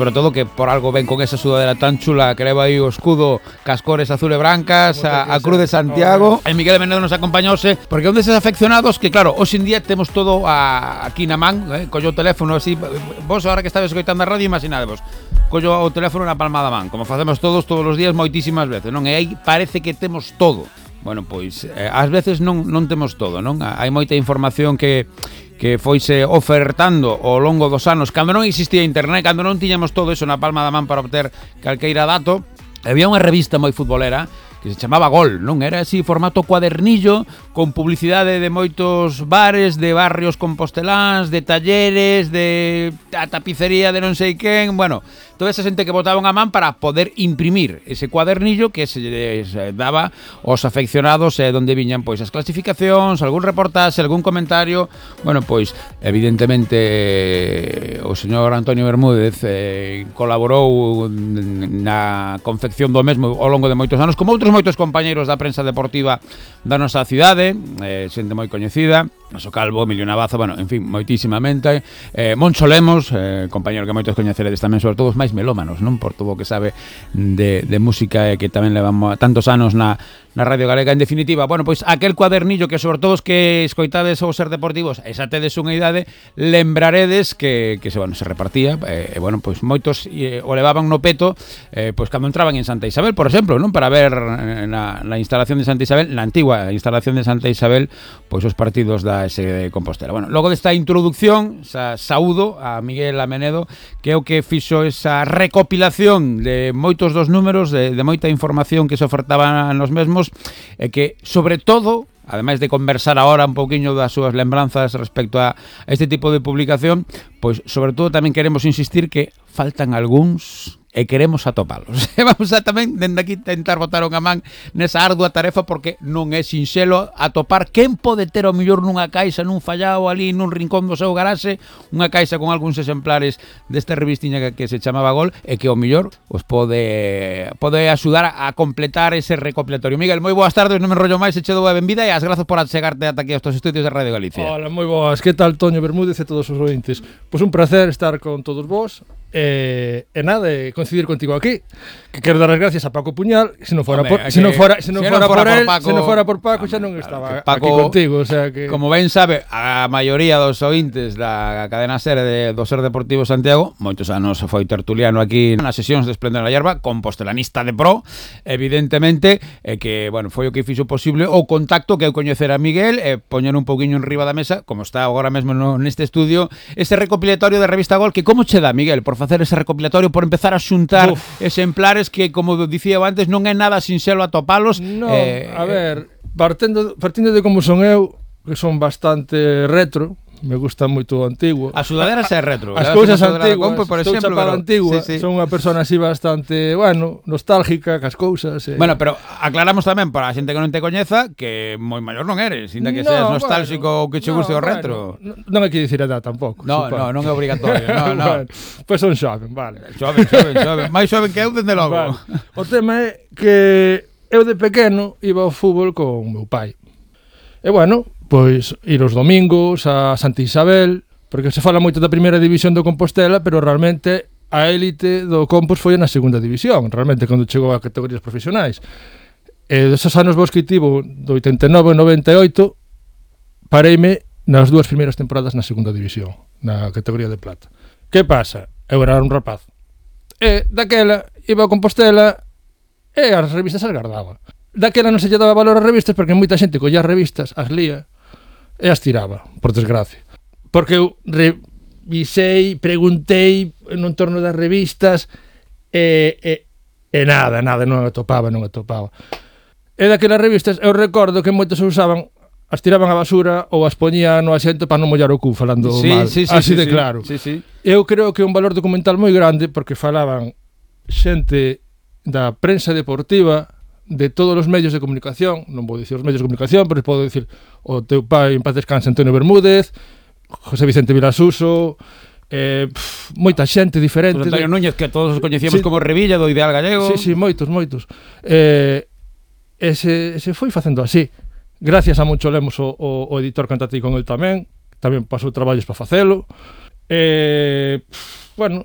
sobre todo que por algo ven con esa sudadera tan chula que leva aí o escudo cas cores azul e brancas, a Cruz de Santiago. E Miguel Menedo nos acompañouse porque un deses afeccionados que claro, hoxe en día temos todo aquí na man, collo o teléfono así, vos ahora que estabes escoitando a radio imaginadevos, collo o teléfono na palma da man, como facemos todos os días moitísimas veces, non? E aí parece que temos todo. Bueno, pois ás veces non temos todo, non? Hai moita información que foise ofertando ao longo dos anos, cando non existía internet, cando non tiñamos todo eso na palma da man para obter calqueira dato. Había unha revista moi futbolera que se chamaba Gol, non? Era así, formato cuadernillo, con publicidade de moitos bares, de barrios composteláns, de talleres, de a tapicería de non sei quen, bueno, toda esa xente que botaban a man para poder imprimir ese cuadernillo que se daba aos afeccionados donde viñan pois as clasificacións, algún reportaxe, algún comentario. Bueno, pois evidentemente o señor Antonio Bermúdez colaborou na confección do mesmo ao longo de moitos anos, como outros moitos compañeiros da prensa deportiva da nosa cidade, xente moi coñecida, Noso Calvo, Emilio Navaza, bueno, en fin, moitísimamente. Moncho Lemos, compañero que moitos coñeceredes tamén, sobre todo os máis melómanos, non? Por todo o que sabe de música e que tamén levamos tantos anos na Radio Galega. En definitiva, bueno, pois aquel cuadernillo que sobre todo os que escoitades ou ser deportivos, esa tedes unha idade, lembraredes que se repartía, e bueno, pois moitos o levaban no peto, pois cando entraban en Santa Isabel, por exemplo, non? Para ver na instalación de Santa Isabel, na antigua instalación de Santa Isabel, pois os partidos da ese de Compostela. Bueno, logo desta introducción, saúdo a Miguel Amenedo, que é o que fixo esa recopilación de moitos dos números, de moita información que se ofertaba nos mesmos, e que, sobre todo, ademais de conversar agora un pouquiño das súas lembranzas respecto a este tipo de publicación, pois, sobre todo, tamén queremos insistir que faltan algúns e queremos atopalos. Vamos a tamén, dende aquí, tentar botar unha man nesa ardua tarefa, porque non é sinxelo atopar quen pode ter o mellor nunha caixa, nun fallao ali, nun rincón do seu garaxe, unha caixa con algúns exemplares desta revistiña que se chamaba Gol, e que o mellor os pode axudar a completar ese recopilatorio. Miguel, moi boas tardes, non me enrollo máis, e che dou a benvida e as grazas por achegarte ata aquí aos estudios de Radio Galicia. Hola, moi boas, que tal, Toño Bermúdez e todos os ointes? Pois un placer estar con todos vos. E nada, de coincidir contigo aquí, que quero dar as gracias a Paco Puñal, se non fora por Paco xa non estaba Paco, aquí contigo, o sea que... Como ben sabe a maioría dos ointes da cadena SER do Ser Deportivo Santiago, moitos anos foi tertuliano aquí nas sesións de Esplendor na Hierba, compostelanista de pro, evidentemente, que, bueno, foi o que fixo posible o contacto que eu coñecer a Miguel e poñer un pouquiño en riba da mesa, como está agora mesmo neste estudio, ese recopilatorio da revista Gol, que como che dá, Miguel, por facer ese recopilatorio, por empezar a xuntar exemplares que, como dicía antes, non é nada sinxelo atopalos. No, a ver, partindo de como son eu, que son bastante retro, me gusta moito o antigo. A sudadera é retro. As cousas antiguas, por exemplo, chapado antigua, sí. Son unha persona así bastante, bueno, nostálgica cas cousas. Bueno, pero aclaramos tamén para a xente que non te coñeza que moi maior non eres, ainda que seas nostálxico ou que che guste o retro. Non hai que dicir a edad tampouco. Non é obrigatorio, no. Pois son xoven, vale. Xoven. Máis xoven que eu, dende logo. Vale. O tema é que eu de pequeno iba ao fútbol con meu pai. E bueno, pois ir os domingos a Santa Isabel, porque se fala moito da primeira división do Compostela, pero realmente a élite do Compos foi na segunda división, realmente cando chegou a categorías profesionais. E deses anos vos que tivo, do 89 ao 98, pareime nas dúas primeiras temporadas na segunda división, na categoría de plata. Que pasa? Eu era un rapaz. E daquela iba a Compostela e as revistas as guardaba. Daquela non se lle daba valor ás revistas porque moita xente collía as revistas, as lía e as tiraba, por desgracia. Porque eu revisei, preguntei no entorno das revistas e nada, non atopaba. E daquelas revistas eu recordo que moitas usaban, as tiraban á basura ou as poñían no asiento para non mollar o cu falando mal, así de claro. Sí. Eu creo que é un valor documental moi grande porque falaban xente da prensa deportiva, de todos os medios de comunicación, non vou dicir os medios de comunicación, pero podo dicir o teu pai, en paz descanse, Antonio Bermúdez, José Vicente Vilasuso, moita xente diferente. Antonio Núñez, que todos os coñecíamos como Revilla, do Ideal Gallego. Sí, moitos. Se foi facendo así. Gracias a Moncho Lemos, o editor, cantatei con el tamén pasou traballos para facelo. Bueno,